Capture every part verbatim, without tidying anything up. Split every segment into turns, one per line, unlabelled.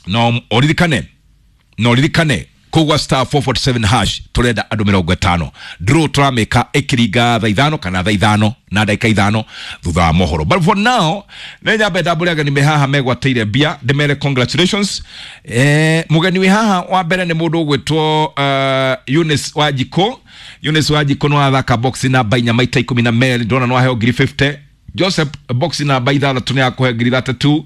No oririkane no ririkane kugwa star four forty-seven hash turenda andu mirongo itano draw turamika ikiringa thaa ithano kana thaa ithano na ndagika ithano thutha wa mohoro. But for now nĩ nyambe ndambũre ageni me haha megwatĩire mbia ndĩmere congratulations. Eh, mũgeni wĩ haha wa mbere nĩ mũndũ ũgwĩtwo uh, Eunice Wanjikũ. Eunice Wanjikũ nĩ wathaka box namba inya maita ikũmi na merĩ, ndona nĩ waheo ngiri fifty. Joseph box namba ithathatũ nĩ akũhe ngiri ithathatũ.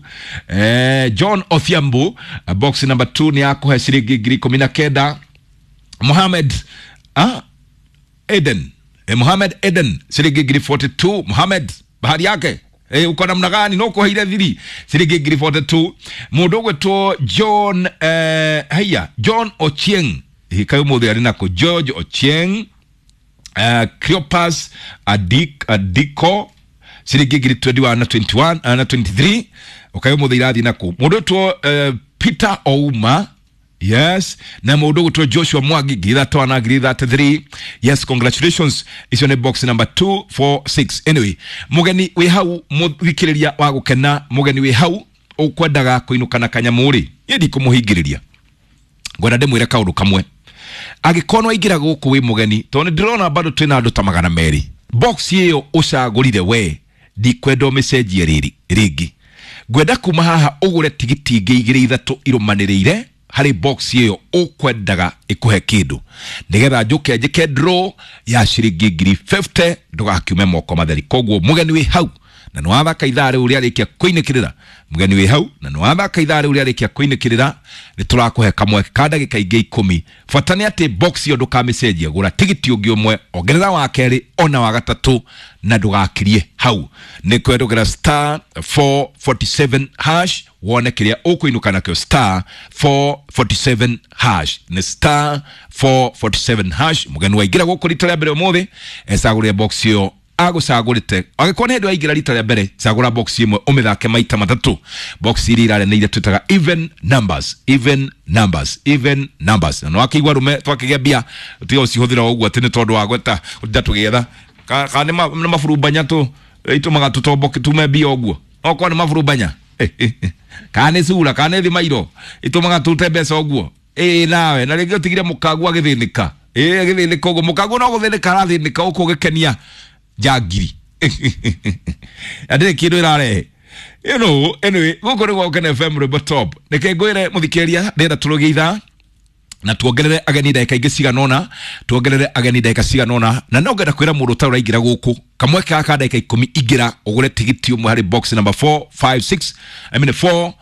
Eh, John Othiambo box number two nĩ akũhe ciringi ngiri ikũmi na kenda. Mohamed ah, Eden eh, Mohamed Eden ciringi ngiri forty-two. Mohamed bahari yake eh, uko namna gani no kuheire thiri ciringi ngiri forty-two. Mũndũ ũgwĩtwo John eh, haya John Ochieng hikayo mũthĩ arĩ nako George Ochieng eh, Cleopas Adik Adiko ciringi ngiri twenty-one na twenty-one na twenty-three ukayo mũthĩ irathi nako. Mũndũ ũgwĩtwo uh, Peter Ouma yes, na mũndũ ũgwĩtwo Joshua Mwangi ngiri ithatũ na ngiri thirty-three. Yes, congratulations, icio nĩ box number two four six. Anyway, mũgeni wĩ hau mũthikĩrĩria wa gũkena, mũgeni wĩ hau ũkwendaga kũinũka na kanyamũ rĩ, niĩ ndikũmũhingĩrĩria, ngwenda ndĩmwĩre kaũndũ kamwe. Angĩkorwo nĩwaingĩra gũkũ wĩ mũgeni, tondũ nĩndĩrona bado twĩna andũ ta magana merĩ, box ĩyo ũcagũrire we ndikwenda ũmĩcenjie rĩrĩ rĩngĩ, ngwenda kuma haha ũgũre tigiti ingĩ igĩrĩ ithatũ irũmanĩrĩire harĩ box ĩyo ũkwendaga ĩkũhe kĩndũ, nĩgetha njũke njĩke draw ya ciringi ngiri fifty ndũgakiume moko matheri. Koguo mũgeni wĩ hau na nĩwathaka ithaa rĩu rĩarĩkia kũinĩkĩrĩra, mũgeni wĩ hau na nĩwathaka ithaa rĩu rĩarĩkia kũinĩkĩrĩra, nĩtũrakũhe kamweke ka ndagĩka ingĩ ikũmi. Bata nĩ atĩ box ĩyo ndũkamĩcenjie, gũra tigiti ũngĩ ũmwe, ongerera wa kerĩ ona wa gatatũ na ndũgakirie hau. Nĩ kwendũgĩra star four forty-seven hash wone kĩrĩa ũkũinũka nakĩo. Star four forty-seven hash nĩ star four forty-seven hash. Mũgeni waingĩra gũkũ rita rĩa mbere ũmũthĩ ecagũrĩre box ĩyo agũcagũrĩte. Angĩkorwo nĩ hĩndĩ waingĩra rita rĩa mbere, cagũra box ĩmwe ũmĩthake maita matatũ. Box iria irareneire twĩtaga even numbers, even numbers, even numbers. Na nĩwakĩigua rume twakĩgĩa mbia tiga ũcihũthĩra ũguo atĩ nĩ tondũ wa gweta gũtinda tũgĩetha kana nĩ maburumbanya tũ itũmaga tũtomboke tume mbia ũguo, okorwo nĩ maburumbanya kana nĩ cura kana nĩ thimairo itũmaga tũte mbeca ũguo. Ĩĩ nawe na rĩngĩ ũtigire mũkaguo agĩthĩnĩka, ĩĩ agĩthĩnĩka ũguo, mũkaguo no gũthĩnĩka arathĩnĩka ũkũ ũgĩkenia njangiri na ndĩrĩ kĩndũ ĩrarehe. You know, anyway, gũkũ nĩ Gũkena F M Rwĩmbo Top. Reke ngwĩre mũthikĩrĩria, ndĩrenda tũrũgie ithaa na tuongerere ageni ndagĩka ingĩ cigana ũna, tuongerere ageni ndagĩka cigana ũna, na no ngenda kwĩra mũndũ ũtarĩ ũraingĩra gũkũ kamweke gaka ndagĩka ikũmi, ingĩra ũgũre tigiti ũmwe harĩ box number four five six, I mean four,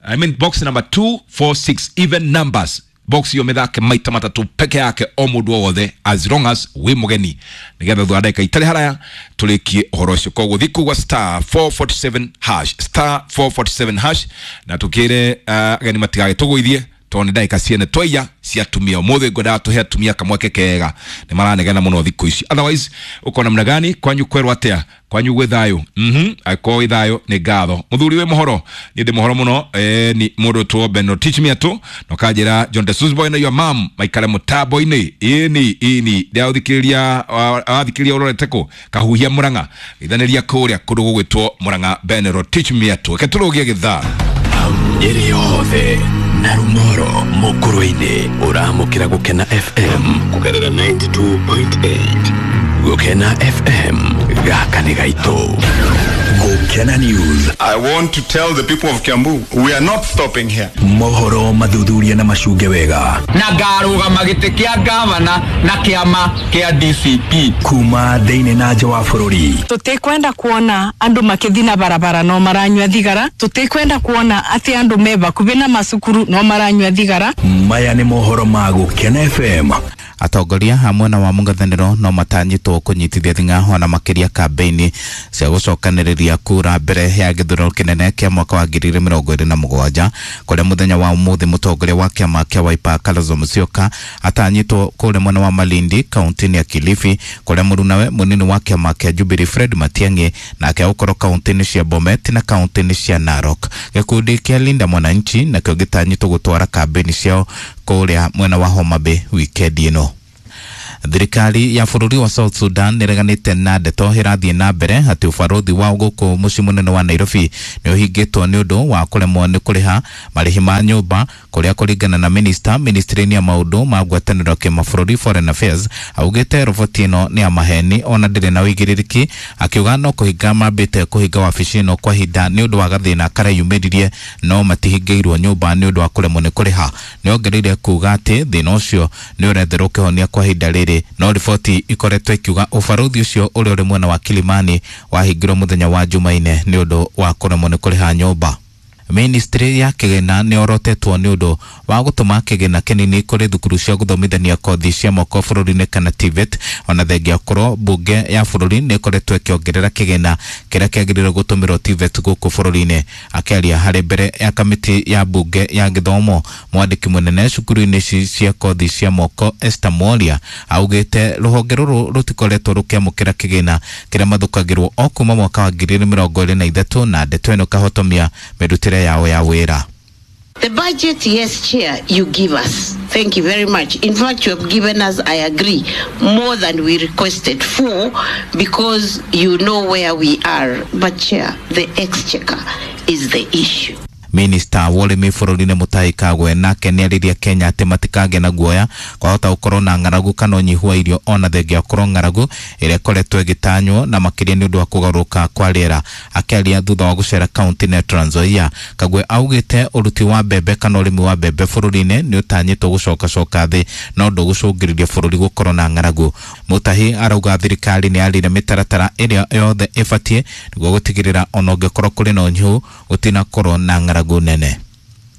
I mean box number two four six, even numbers. Box iyo mĩthake maita matatũ peke yake o mũndũ o wothe as long as wĩ mũgeni, nĩgetha thutha wa ndagĩka itarĩ haraya tũrĩkie ũhoro ũcio. Koguo thiĩ kũgwa star four forty-seven hash, star four forty-seven hash, na tũkĩre ageni uh, matigagĩtũgũithie tondũ nĩ ndagĩka ciene twaiya cia atumia. Ũmũthĩ ngwendaga tũhe atumia kamweke kega, nĩ maranegena mũno thikũ ici. Otherwise ũkona namna gani kwanyu kwerwo atĩa? Kwanyu gwĩ thayũ? Mhm, angĩkorwo gwĩ thayũ nĩ ngatho. Mũthuri wĩ mũhoro? Niĩ ndĩ mũhoro mũno. Eh, ni mũndũ two Beno teach me atũ na ũkanjĩra John the Boy na your mom maikare mũtambo-inĩ. Ĩni ĩni ndĩrathikĩrĩria wathikĩrĩria ũrorete kũ kahuhia Murang'a ithanĩria kũrĩa kũndũ gũgwĩtwo Murang'a. Benero teach me atũ reke tũrũgie gĩthaa
Nyeri yothe na Rumoro Mukurwe-inĩ ũramũkĩra Gũkena F M kũgerera ninety-two point eight. Gũkena F M gaka nĩ gaitũ.
Gũkena News.
I want to tell the people of Kiambu, we are not stopping here.
Mohoro mathuthuria na macunge wega.
Na ngarũgama gĩtĩ kĩa gavana na kĩama kĩa D C P.
Kuma thĩinĩ na nja wa bũrũri.
Tũtikwenda kuona andũ makĩthiĩ na barabara no maranyua thigara. Tũtikwenda kuona atĩ andũ me bakubi na macukuru no maranyua thigara.
Maya nĩ mohoro ma Gũkena F M.
Atongoria hamwe na wa mũng'ethanĩro no matanyĩtwo kũnyitithia thing'a ona makĩria kambĩini cia gũcokanĩrĩria kura mbere ya gĩthurano kĩnene kĩa mwaka wa ngiri igĩrĩ mĩrongo ĩrĩ na mũgwanja, kũrĩa mũthenya wa ũmũthĩ mũtongoria wa kĩama kĩa Wiper Kalonzo Musyoka atanyĩtwo kũrĩa mwena wa Malindi kaunti-inĩ ya Kilifi, kũrĩa mũrunawe mũnini wa kĩama kĩa Jubilee Fred Matiang'i nake gũkorwo kaunti-inĩ cia Bomet na kaunti-inĩ cia Narok. Gĩkundi kĩa Linda Mwananchi nakĩo gĩtanyĩtwo gũtwara kambĩini ciao kũrĩa mwena wa Homa Bay wikendi ĩno. Thirikari ya bũrũri wa South Sudan nĩreganĩte na ndeto ĩrathiĩ na mbere atĩ ũbarũthi wao gũkũ mũciĩ mũnene wa Nairobi nĩ ũhingĩtwo nĩ ũndũ wa kũremwo nĩ kũrĩha marĩhi ma nyũmba, kũrĩa kũringana na minista ministry-inĩ ya maũndũ ma ngwatanĩro kĩmabũrũri Foreign Affairs augĩte roboti ĩno nĩ ya maheni ona ndĩrĩ na ũigĩrĩrĩki, akiuga no kũhinga mambĩte kũhinga wabici ĩno kwa ihinda nĩ ũndũ wa gathĩna kareyumĩririe no matihingĩirwo nyũmba nĩ ũndũ wa kũremwo nĩ kũrĩha. Nĩongereire kuga atĩ thĩna ũcio nĩ ũretherwo kĩhonia kwa ihinda rĩrĩ, no riboti ikoretwo ikiuga ũbarũthi ũcio ũrĩa ũrĩ mwena wa Kilimani wahingirwo mũthenya wa Jumaine nĩ ũndũ wa kũremwo nĩ kũrĩha nyũmba. Ministry ya kĩgĩna nĩ orotetwo nĩ ũndũ wa gũtũma kĩgĩna kĩnini kũrĩ thukuru cia gũthomithania kothi cia moko bũrũri-inĩ kana T V E T, ona thengia korwo mbunge ya bũrũri nĩ ĩkoretwo ĩkĩongerera kĩgĩna kĩrĩa kĩagĩrĩirwo gũtũmĩrwo T V E T gũkũ bũrũri-inĩ. Akĩaria harĩ mbere ya kamĩtĩ ya mbunge ya gĩthomo, mwandĩki mũnene cukuru-inĩ ici cia kothi cia moko Esther Mworia augĩte rũhonge rũrũ rũtikoretwo rũkĩamũkĩra kĩgĩna kĩrĩa mathũkagĩrwo o kuma mwaka wa ngiri igĩrĩ mĩrongo ĩrĩ na ithatũ, na ndeto ĩno ĩkahotomia mĩrutĩre yao ya wĩra.
The budget, yes, Chair, you give us. Thank you very much. In fact, you have given us, I agree, more than we requested for, because you know where we are. But, Chair, the exchequer is the issue.
Minista wa ũrĩmi bũrũri-inĩ Mutahi Kagwe nake nĩarĩria Kenya atĩ matikagĩe na guoya kwahota gũkorwo na ng'aragu kana ũnyihu wa irio ona thengia gũkorwo ng'aragu ĩrĩa ĩkoretwo ĩgĩtanywo na makĩria nĩ ũndũ wa kũgarũrũka kwa rĩera. Akĩaria thutha wa gũcera kaunti ya Trans Nzoia, Kagwe augĩte ũruti wa mbembe kana ũrĩmi wa mbembe bũrũri-inĩ nĩ ũtanyĩtwo gũcokacoka thĩ no ndũgũcũngĩrĩria bũrũri gũkorwo na ng'aragu. Mutahi arauga thirikari nĩ yarire mĩtaratara ĩrĩa yothe ĩbatiĩ nĩguo gũtigĩrĩra ona ũngĩkorwo kũrĩ na ũnyihu gũtinakorwo na ng'aragu nene.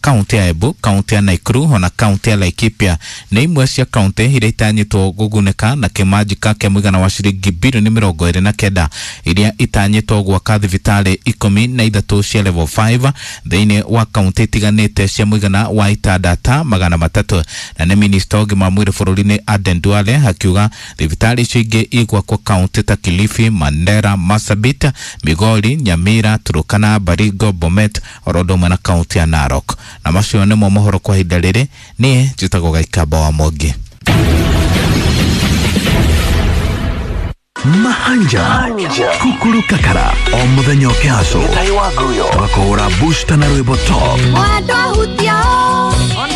Kaunti ya Embu, kaunti ya Nakuru ona kaunti ya Laikipia nĩ imwe cia kaunti iria itanyĩtwo gũgunĩka na kĩmanjĩka kĩa mũigana wa ciringi bilioni mĩrongo ĩrĩ na kenda iria itanyĩtwo gwaka thibitarĩ ikũmi na ithatũ cia level five thĩinĩ wa kaunti itiganĩte cia mũigana wa itanda ta magana matatũ. Na nĩ minista wa ũgima wa mwĩrĩ bũrũri-inĩ Aden Duale akiuga thibitarĩ icio ingĩ igwakwo kaunti ta Kilifi, Mandera, Marsabit, Migori, Nyamira, Turkana, Baringo, Bomet oro ũndũ ũmwe na kaunti ya Narok. Na macio nĩmo mohoro kwa ihinda rĩrĩ. Niĩ njĩtagwo Gaikamba wa Mwangi.
Mahanja Kukuru Kakara o muthenya ũkĩhaco tũgakũhũra booster na rwĩmbo top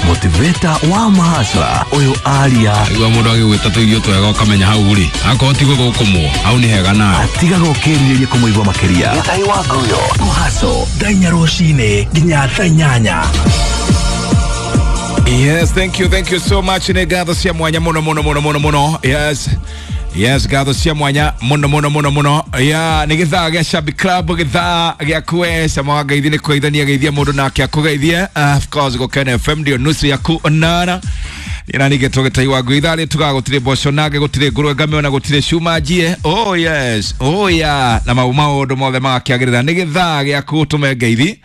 motivator wa mahasra ũyũ aria
igua mũndũ agĩgwĩta tũirio twega ũkamenya hau rĩ akorwo ti gũthũkũmwo hau nĩ hega nawe
atigaga ũkĩrirĩria kũmũigua makĩria kũhaco thaa inya rũcinĩ nginya thaa inyanya.
Yes, thank you, thank you so much. Nĩ ngatho cia mwanya mũno mũno mũno mũno mũno. Yes. Yes, ngatho cia mwanya mũno mũno mũno mũno. Yeah, nĩ gĩthaa gĩa Shabby Club, gĩthaa gĩa kwe cama wa ngeithi nĩ kũgeithania geithia mũndũ nake akũgeithie. Uh, of course Gũkena F M ndio nusu yaku onana. Ina nige tũgĩtai wa ngui ithaa rĩ tugaga gũtirĩ mboco nage gũtirĩ ngũrwe ngame ona gũtirĩ cuma njie. Oh yes, oh yeah. Na mau maũndũ mothe magakĩagĩrĩra. Nĩ gĩthaa gĩaku ũtũme ngeithi,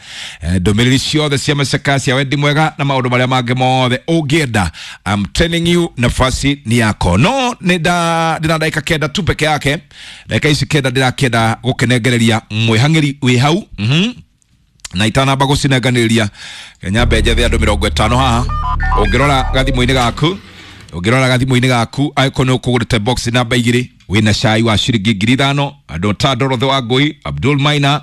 ndũmĩrĩri ciothe cia macaka cia wendi mwega na maũndũ marĩa mangĩ mothe ũngĩenda. I'm telling you, nafasi ni yako. No nĩ nda ndĩna ndagĩka kenda tu peke yake. Ndagĩka ici kenda ndĩrakĩenda gũkĩnengereria mwĩhang'ĩri wĩ hau. Mhm. Na itanamba gũcinenganĩria nyambe njethe andũ mĩrongo ĩtano haha. Ũngĩrora gathimũ-inĩ gaku, ũngĩrora gathimũ-inĩ gaku angĩkorwo nĩ ũkũgũrĩte box namba igĩrĩ wĩna cai wa ciringi ngiri ithano, andũ ta Dorothy Wangũi, Abdul Maina,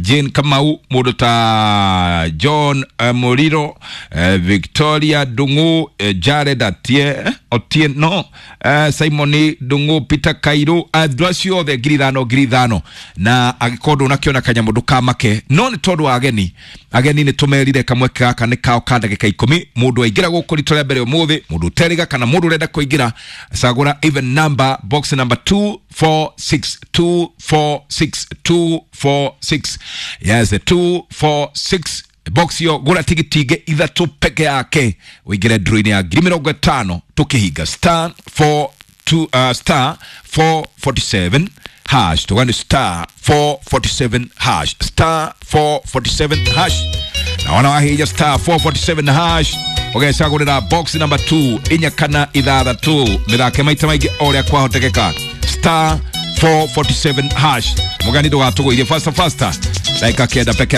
Jane Kamau, mũndũ ta John uh, Muriro, uh, Victoria Ndung'u, uh, Jared Atie, Otieno, uh, Simon Ndung'u, Peter Kairu, andũ acio othe ngiri ithano ngiri ithano. Na angĩkorwo ndũnakĩona kanyamũ ndũkamake, no nĩ tondũ wa ageni, ageni nĩ tũmerire kamweke gaka nĩ kao ka ndagĩka ikũmi. Mũndũ aingĩra gũkũ rita rĩa mbere ũmũthĩ, mũndũ ũteriga kana mũndũ ũrenda kũingĩra, cagũra even number box number two four six two four six two four six. Yes, the two four six box yo gura tigiti ingi ithatu peke yake uingire draw-inĩ ya ngiri mĩrongo ĩtano tukihinga star four two uh, star four forty-seven hash tugani star four forty-seven hash star four forty-seven hash. Na wana wahinya star four forty-seven hash ugecagũrĩra box number two inya kana ithathatũ mĩthake maita maingĩ o ũrĩa kwahotekeka star four forty-seven hash. Mũgani ndũgatũgũithie faster faster ndagĩka kenda peke.